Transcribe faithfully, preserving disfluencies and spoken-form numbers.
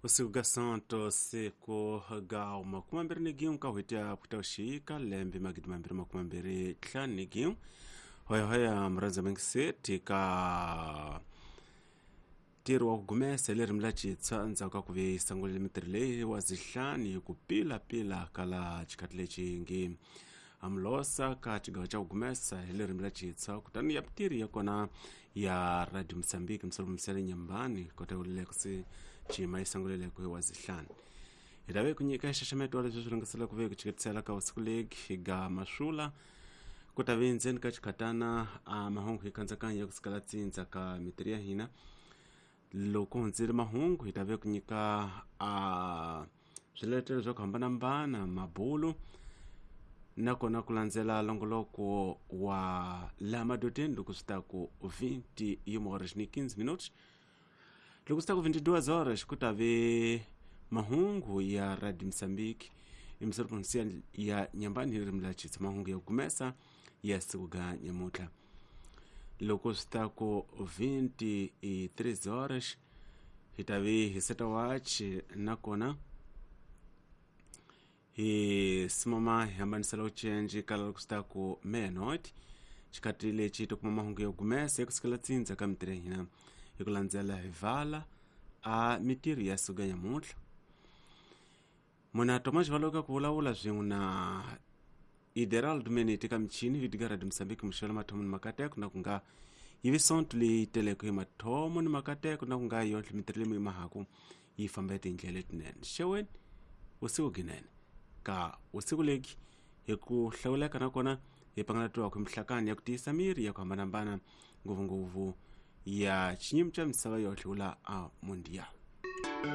Usiku ga Santo siku ga makumi mambirhi ni gin'we ka n'hweti ya Putauxika lembe magidi mambirhi makumi mambirhi ntlhanu ni gin'we. Hoyahoya murhandza mingiseti ka ntirho wa ku gumesa hi ririmi ra Xitswa endzhaku ka ku ve yi sungulile mintirho leyi wa zihlani hi ku pilapila ka laha xikhathi lexi nge amlosa ka xigawo xa ku gumesa hi ririmi ra Xitswa kutani ya mintirho ya kona ya Radio Mozambique misolo nyambani kota ku se cima yi sungulile ku hi wa zihlani. Hi ta ve ku nyika nxaxameto wa leswi swi lungisela ku ve ku chiketisela ka usiku legi ga maswula ku ta ve ndzeni ka xikhatana a mahungu hi kandzakanya ya ku sikala tsindza ka mintirho ya hina. Loko hundzile mahungu hi ta ve ku nyika a swiletelo swa ku hambanahambana mabulu nakona ku landzela longoloko wa laha madodeni loko swi ta ku vinte e uma horas ni quinze minutos. Loko swi ta ku vinte e duas horas ku ta ve mahungu ya Radio Mozambique emisolo ya nyambani hi ririmi ra Xitswa mahungu ya gumesa ya siku ga nyamutlha. Loko swi ta ku vinte e três horas hi ta ve hi seta wachi nakona hi simama hi hambanisela ucenji kala loko swi ta ku meia-noite xikhathi lexi ti kuma mahungu ya gumesa ya kusukela tsindza ka mintirho ya hina hi ku landzela hi vala a mintirho ya siku ya nyamutlha. Muna Tomas Valoka ku vulavula swin'we na Ideraldo Menete ka michini vitiga Radio Mozambique muxelo mathomo ni makateko na ku nga yi vi sonto leyi teleke hi mathomo ni makateko na ku nga yonhle mintirho leyi mahaku yi famba hi tindlela letinene. Xeweni usiku ginene ka usiku leki hi ku hlawuleka nakona hi pangalatiwa ku mihlakani ya ku tiyisa miri ya ku hambanahambana ngopfungopfu ya xinyimi xa misava yohle wula a mundial.